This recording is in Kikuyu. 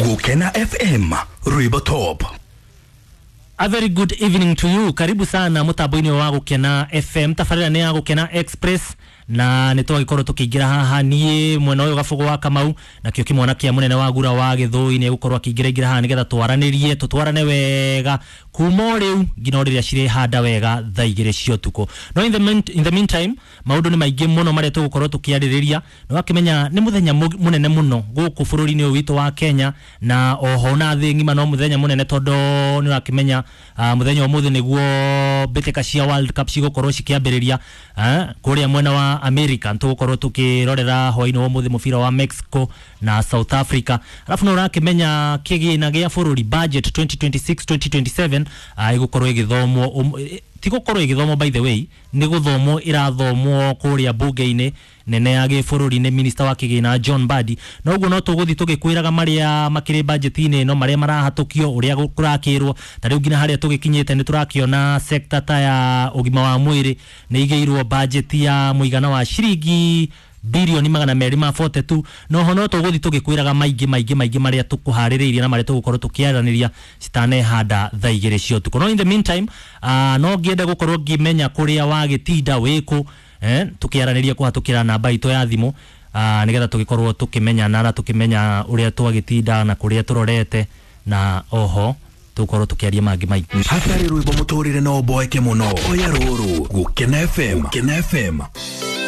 Gukena FM, Rwimbo Top. A very good evening to you. Karibu sana mutambo-inĩ wa Gukena FM. Tabarĩra nĩ ya Gukena Express na nĩ twagĩkorwo tũkĩingĩra haha niĩ mwena ũyũ Gabugu wa Kamau nakĩo kĩmwana kĩa mũnene wa Gura wa Gĩthũi nĩ egũkorwo akĩingĩra ingĩra haha nĩgetha twaranĩrie tũtwarane wega kuma o rĩu nginya o rĩrĩa cirĩhanda wega thaa 2 cia ũtukũ. No in the meantime maũndũ nĩ maingĩ mũno marĩa tũgũkorwo tũkĩarĩrĩria. Nĩ wakĩmenya nĩ mũthenya mũnene mũno gũkũ bũrũri-inĩ ũyũ witũ wa Kenya na oho na thĩ ng'ima, no mũthenya mũnene tondũ nĩ ũrakĩmenya mũthenya ũmũthĩ nĩguo mbĩtĩka cia World Cup cigũkorwo cikĩambĩrĩria kũrĩa mwena wa America. Tũgũkorwo tũkĩrorera hwaĩ-inĩ wa ũmũthĩ mũbira wa Mexico na South Africa. Alafu nĩ ũrakĩmenya kĩgĩna gĩa bũrũri budget 2026-2027 ĩgũkorwo ĩgĩthomwo, ti gũkorwo ĩgĩthomwo, by the way nĩ gũthomwo ĩrathomwo kũrĩa bunge-inĩ nene ya gĩbũrũri nĩ minister wa kĩgĩna John Mbadi. Na ũguo no tũgũthiĩ tũgĩkwĩraga marĩa makĩrĩ budget-inĩ ĩno, marĩa marahatũkio, ũrĩa kũrakĩrwo. Ta rĩu nginya harĩa tũgĩkinyĩte nĩ tũrakĩona sector ta ya ũgima wa mwĩrĩ nĩ igĩirwo budget ya mũigana wa ciringi bilioni 242. No ho no tũgũthiĩ tũgĩkwĩraga maingĩ maingĩ maingĩ marĩa tũkũharĩrĩirie na marĩa tũgũkorwo tũkĩaranĩria citanehanda thaa 2 cia ũtukũ. No in the meantime no ngĩende gũkorwo ngĩmenya kũrĩa wagĩtinda wĩkũ, tũkĩaranĩria kũhatũkĩra namba itũ ya thimũ nĩgetha tũgĩkorwo tũkĩmenyana na tũkĩmenya ũrĩa twagĩtinda na kũrĩa tũrorete, na oho tũgũkorwo tũkĩaria mangĩ maingĩ. Hatarĩ rwĩmbo mũtũrĩre no ũboeke mũno. Oya rũrũ, Gukena FM. Gukena FM.